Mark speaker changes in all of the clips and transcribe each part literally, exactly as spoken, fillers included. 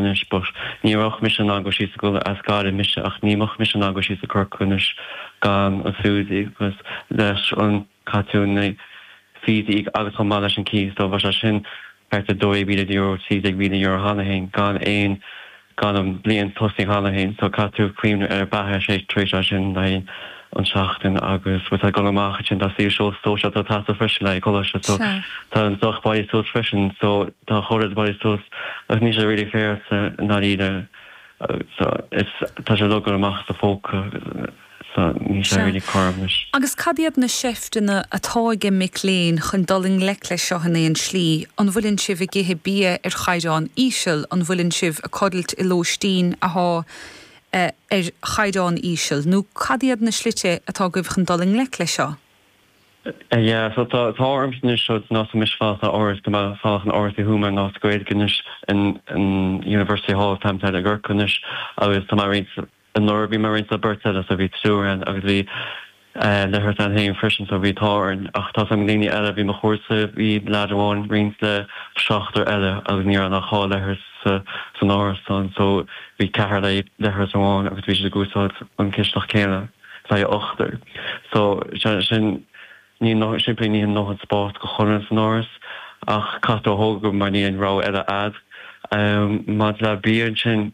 Speaker 1: anois but ní raibh mise in ann go síos go as Gaillimh mise ach ní bheadh mise in ann go síos go Corcaigh anois gan an SUSI agus leis an caithfidh tú na fees agus chomh maith leis an cíos so bheadh sé sin thart ar dó mhíle euro trí déag mhíle euro cheana féin gan aon gan an bliain tosaigh cheana féin so caithfidh tú cuimhneamh ar beatha sé tar éis sin le an seachtain agus tá go amach sin tá saol sóisialta tá freisin le coláiste so tá an deoch bailithe suas freisin so tá chóir bailithe suas agus níl sé really fair sa ndáiríre so is tá sé le amach sa phóca so níl sé really cothrom anois.
Speaker 2: Agus cad iad na seifteanna atá ag mic léinn chun dul i ngleic leis seo in aon slí, an bhfuileann sibh ag ithe bia ar chaighdeán íseal, an bhfuileann sibh ag codlait i lóistín atá uh, ar chaighdeán íseal, nó cad iad na slite atá agaibh chun dul i ngleic leis seo?
Speaker 1: Uh, yeah, so tá tá orm anois so ná mis fá áras go fá an áras i Thuama ná Gaeilge anois in in University Hall tam i gCorcaigh anois agus tá mar anuraidh bhí mar roinnt le beirt eile so bhí triúr ann agus bhí leithreas ann féin freisin so bhí tá ach tá sam daoine eile bhí mo chúrsa bhí leaid amháin roinnt le seachtar eile agus ní raibh ach dhá leithreas san árasán so bhí ceathrar le leithreas amháin agus bhí siad ag úsáid an cisteach céanna le ochtar so sin ní simply ní nó an spás go chun san áras ach caithfidh tú thóg mar ní an rogha eile agat um, maidir le bia sin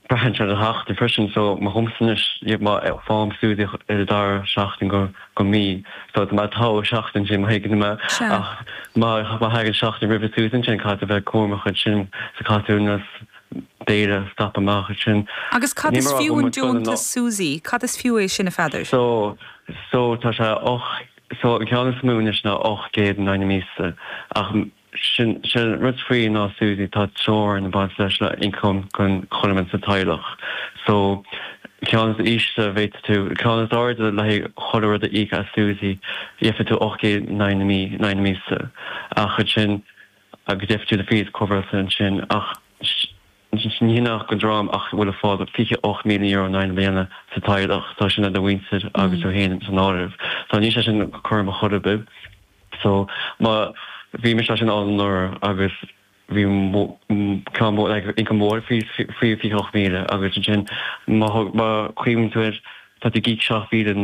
Speaker 1: braitheann sé an seachtain freisin so má thomsan má fáim SUSI i dar seachtain go go mí so má tá seachtain sin má má ach má má thagann seachtain roimh SUSI sin caithfidh bheith cúramach sin sa caithfidh béile stop amach sin.
Speaker 2: Agus cad is fiú an deontas SUSI, cad is fiú é sin a Pheadair?
Speaker 1: So so tá sé och so an ceann is mó anois ná ocht gcéad in aghaidh na míosa ach sin sin rud faoi ná SUSI tá teorainn ag baint leis le income chun chuile sa teaghlach. So ceann is ísle bheith tú ceann is airde le chuile rud a íoc as SUSI gheobhaidh tú ocht gcéad in aghaidh na mí in aghaidh na míosa ach sin agus gheobhaidh tú na fees cover sin ach ní nach go drom ach bhfuil a fád fiche ocht míle euro in aghaidh na bliana sa teaghlach tá sin do mhuintir agus tú féin san áireamh. Tá ní sé sin chur a chorbe. So má bhí mé sin an agus bhí income mór faoi fiche ocht míle agus sin má chuimhníonn tú tá tú ag íoc seacht mhíle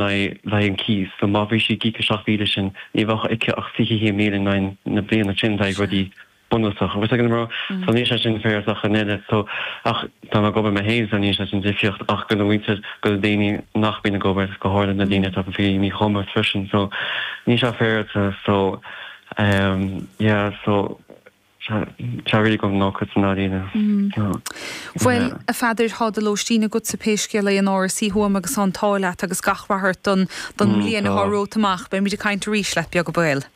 Speaker 1: le an cíos, so má bhí sí ag íoc seacht mhíle sin ní bheadh aici ach fiche míle na bliana sin le rudaí bunúsach agus ag an so ní sé sin fair ach an eile so ach tá ag obair mé féin so ní sé sin difríocht ach go bhfuil go daoine nach mbíonn ag obair go háirithe na daoine atá faoi mhíchumas freisin so ní sé fair so um, yeah so Tá really go ná san daoine.
Speaker 2: Bhuel a Pheadair tá do lóistín agat sa pé scéal é in Áras Uí Thuama agus an t-ádh leat agus gach rath don don mbliain atá romhat amach, beimid ag caint arís leat beag beal.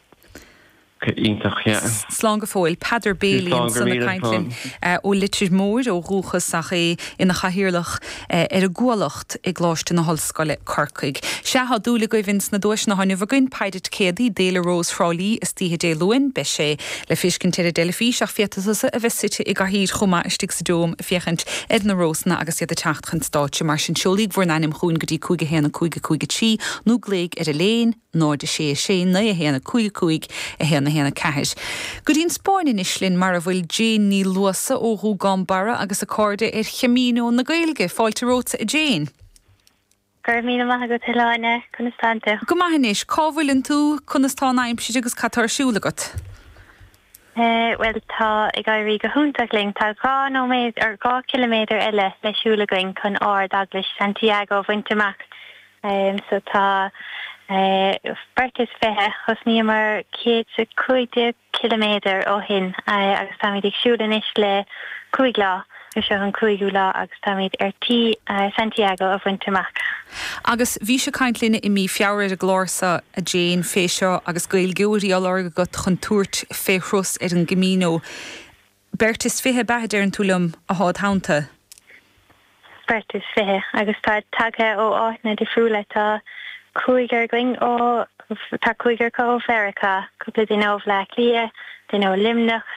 Speaker 1: Iontach
Speaker 2: Slán go fóill Peadar Bailey san ag caint linn ó Leitir Móir ó dhúchas ach é ina chathaoirleach ar an gCuallacht i gColáiste na hOllscoile Corcaigh. Sea tá dúil agaibh sna duaiseanna inniu againn Paidet Céadaí d'Fhéile Rós Thrá Lí istoíche Dé Luain, beidh sé le feiscint ar an dteilifís ach féadfaidh tusa a bheith suite i gcathaoir chomh maith istigh sa dome ag féachaint ar na rósanna agus iad ag teacht chun stáitse mar sin seolaigí bhur n-ainm chugainn go dtí cúig a haon a cúig a cúig a trí nó glaoigh ar an líne náid a sé a sé naoi a haon a cúig a cúig a haon a haon a ceathair. Go dtí an Spáinn anois linn mar a bhfuil Jane Ní Luasa ó Ghúgán Barra agus a cairde ar Chamino na Gaeilge, Fáilte romhat a Jane.
Speaker 3: Go raibh míle maith agat a Shláine conas tánn tú.
Speaker 2: Go maith anois cá bhfuileann tú conas tá an aimsir agus cad tá ar siúl agat.
Speaker 3: Uh, well tá ag éirí go hiontach linn tá dhá nóiméad ar dhá kilometer eile le siúl againn chun Ardeaglais Santiago a bhaint amach. Um, so tá uh, beirt is fiche thosnaíomar céad is cúig kilometer ó shin uh, agus táimid ag siúl anois le cúig lá seo an cúigiú lá agus táimid ar tí uh, Santiago a bhaint amach.
Speaker 2: Agus bhís ag caint linn i mí Feabhra ar an gclár seo a Jane fé seo agus Gaeilgeoirí á lorg agat chun tabhairt fé thuras ar an gCamino. Beirt is fiche ab ea a deireann tú liom atá id theannta.
Speaker 3: Beirt is fiche agus tá tagtha ó áiteanna difriúla tá cúigear againn ó tá cúigear ó Mheiriceá, cúpla duine ó Bhaile Átha Cliath, duine ó Luimneach,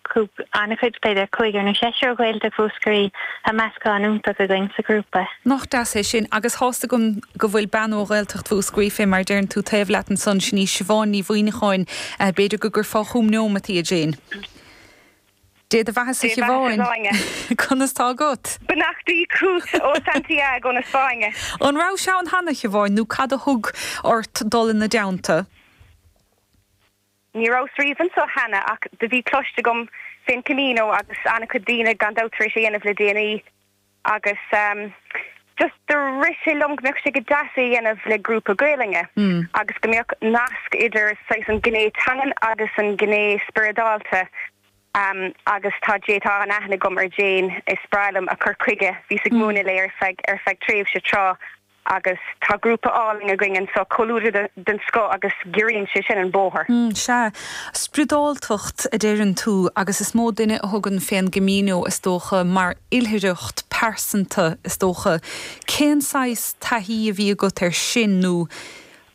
Speaker 3: an-chuid b'fhéidir cúigear nó seisear ó Ghaeltacht Mhúscraí tá meascán iontach againn sa ghrúpa.
Speaker 2: Nach deas é sin agus tá a fhios agam go bhfuil bean ó Ghaeltacht Mhúscraí fé mar deireann tú taobh leat ansan sin í Siobhán Ní Mhuineacháin b'fhéidir go gcuirfeá chugam neomat í a Jane. Dé do bheathasa a Shiobháin. Conas tá agat?
Speaker 4: Beannachtaí chugat ó Santiago na Spáinne.
Speaker 2: An rabhais ann cheana, a Shiobháin, nó cad a thug ort dul ina dteannta?
Speaker 4: Ní rabhas riamh anseo cheana ach do bhí cloiste agam fén Camino agus an-chuid daoine gan dabht tar éis é a dhéanamh le déanaí agus just do rith sé liom go mbeadh sé go deas é a dhéanamh le grúpa Gaelainne agus go mbeadh nasc idir saghas an gné teangan agus an gné spioradálta. Agus tá Jane, tá an-aithne agam ar Jane, is breá liom a cur chuige, bhíos ag múineadh léi ar feadh ar feadh tréimhse tráth agus tá grúpa álainn againn anseo, comhluadar den scoth agus giorraíonn sé sin an bóthar.
Speaker 2: Sea, spioradáltacht a deireann tú agus is mó duine a thugann fén gCamino is dócha mar oilithreacht pearsanta is dócha. Cén saghas taithí a bhí agat air sin nó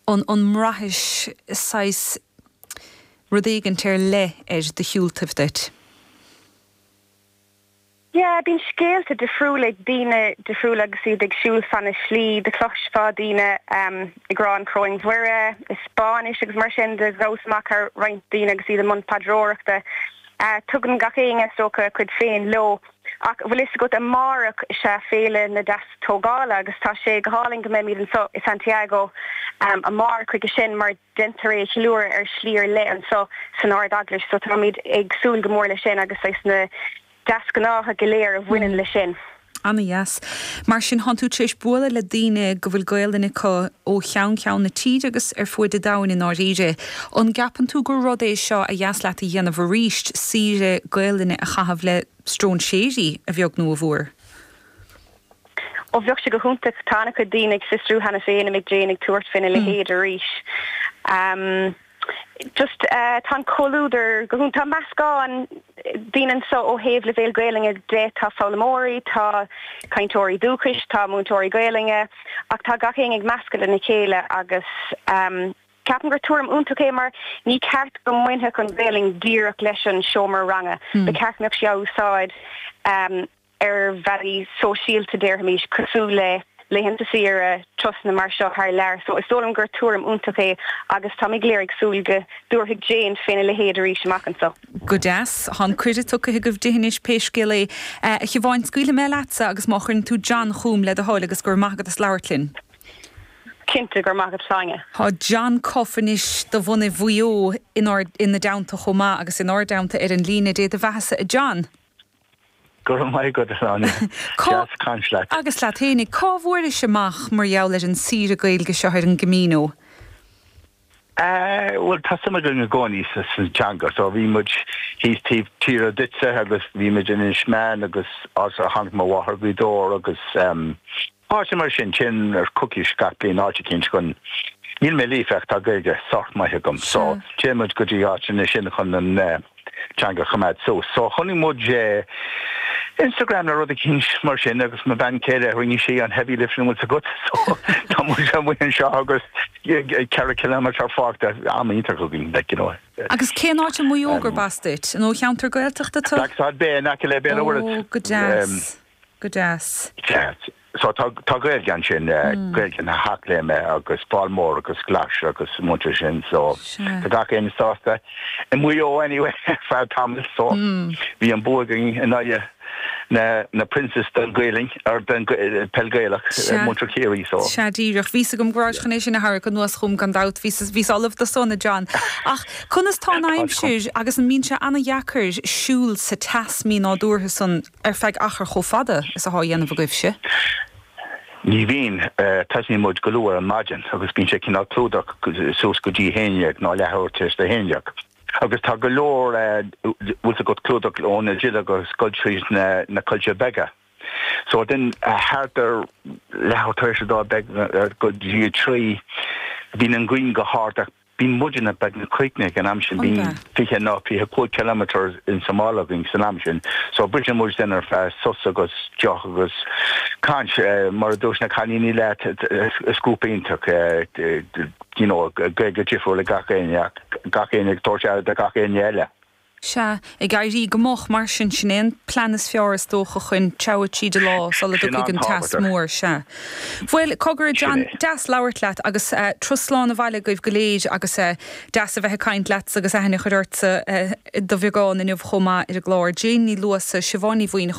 Speaker 2: an an mbraithis saghas rud éigint ar leith ar do shiúltaibh duit?
Speaker 4: Yeah, bíonn scéalta difriúla ag daoine difriúla agus iad ag siúl fan na slí, do chloisfeá daoine ag rá an Choróin Mhuire i Spáinnis agus mar sin de, ghabhas amach ar roinnt daoine agus iad i mbun paidreoireachta. Tugann gach éinne is dócha a cuid féin leo. Ach bhfuil fhios agat amárach is ea Féile na Deastógála agus tá sé go hálainn go mbeimid anseo i Santiago amárach chuige sin mar déantar é a cheiliúradh ar shlí ar leith anseo san Ard-Eaglais so táimid ag súil go mór leis sin agus saghas na deasghnátha go léir a bhaineann leis sin.
Speaker 2: Ana-dheas. Mar sin, thánn tú tar éis bualadh le daoine go bhfuil Gaelainn acu ó cheann ceann na tíre agus ar fuaid an domhain i ndáiríre. An gceapann tú gur rud é seo a dheas leat a dhéanamh arís, saoire Gaelainne a chaitheamh le stróinséirí, a bheag nó a mhór?
Speaker 4: Ó bheadh sé go hiontach. Tá an-chuid daoine ag fiosrú cheana féin an mbeidh Jane ag tabhairt faoina leithéid arís. Just tá an comhluadar go hiontach. Tá meascán daoine anseo ó thaobh leibhéal Gaelainne de, tá foghlaimeoirí, tá cainteoirí dúchais, tá múinteoirí Gaelainne ach tá gach éinne ag meascadh lena chéile agus ceapaim gur tuairim iontach é mar ní ceart go mbainfeadh an Ghaelainn díreach leis an seomra ranga. Ba cheart go mbeadh sí á úsáid ar bhealaí sóisialta, déarfaimis, cosúil le laethanta saoire, turasanna mar seo thar lear. So is dóigh liom gur tuairim iontach é agus táimid go léir ag súil go dtabharfaidh Jane féna leithéid arís amach anseo.
Speaker 2: Go deas. Tá an cuireadh tugtha agaibh di anois pé scéal é. A Shiobháin, scaoilfidh mé leatsa agus má chuireann tú John chugam le do thoil agus go raibh maith agat as labhairt linn.
Speaker 4: Cinnte, go raibh maith agat Sláine.
Speaker 2: Tá John Cuffe anois de bhunadh Mhaigh Eo inár ina dteannta chomh maith agus inár dteannta ar an líne. Dé do bheathasa a John.
Speaker 5: Go raibh maith agat, a Shláine. Deas caint leat.
Speaker 2: Agus leat fhéinig. Cá bhfuairis amach mar gheall ar an saoire Gaeilge seo ar an gCamino?
Speaker 5: Bhuel, tá suim againn i gcónaí sa teanga, so bhí muid thíos taobh tíre duitse agus bhí muid in Inis Meáin agus áit ar tháinig mo mháthair Gaoth Dobhair agus áiteanna mar sin, téann ar coicís gach bliain áit eicínt chun, níl mé líofa ach tá Gaeilge sách maith agam, so téann muid go dtí áiteanna sin chun an teanga a choimeád suas. So chonaic muid Instagram nó rud eicínt mar sin agus mo bhean chéile rinne sí an heavy lifting an bhfuil 's agat so tá muid amuigh anseo agus ceithre kilometre fágtha am iontach againn like you know.
Speaker 2: Agus cén áit i Maigh Eo gurb as duit? An ó cheantar Gaeltachta tú?
Speaker 5: Blacksod Bay in aice le Béal an Mhuirthead.
Speaker 2: Ó go deas. Go deas.
Speaker 5: Sea. So tá tá Gaeilge ansin, Gaeilge na hEachléime agus Fál Mór agus Glais agus muintir sin so tá gach éinne sásta i Maigh Eo anyway ar feadh tamaill so bhí an bua againn in aghaidh na na Princes den Ghaelainn or den peil Gaelach muintir Chiarraí so.
Speaker 2: Sea díreach. Bhí's agam go rabhais chun é sin a tharrac anuas chugam gan dabht. Bhíos bhíos ullamh dó san a John. Ach conas tá an aimsir agus an mbíonn sé ana-dheacair siúl sa teas mí-nádúrtha san ar feadh achar chomh fada is athá á dhéanamh agaibhse?
Speaker 5: Ní bhíonn. Tosnaíonn muid go luath ar an maidin agus bíonn sé cineál clúdach suas go dtí a haon dhéag nó leathuair tar éis a haon dhéag. Agus tá go leor, bhfuil 's agat, clúdach ó na duilleoga ag goil tríd na coillte beaga. So then thart ar leathuair tar éis a dó beag go dtí a trí bíonn an ghrian go hard ach Bíonn muidne beagnach críochnaithe ag an am sin, bíonn fiche nó fiche cúig kilometre in sa mála againn san am sin. So briseann muid then ar feadh sos agus deoch agus caint. Mar a dúirt na cailíní leat, is grúpa iontach, you know, Gaeilge difriúil ag gach éinne ach gach éinne ag tabhairt aire do gach éinne eile.
Speaker 2: Sea, ag éirí go moch mar sin sin é an plean is fearr is dócha chun treabhadh tríd an lá sula dtiocfaidh an teas mór, sea. Bhuel, cogar John, deas labhairt leat agus turas slán abhaile agaibh go léir agus deas a bheith ag caint leatsa agus aithne a chur ortsa do bheagán inniu chomh maith ar an gclár. Jane Ní Luasa, Siobhán Ní Mhaoin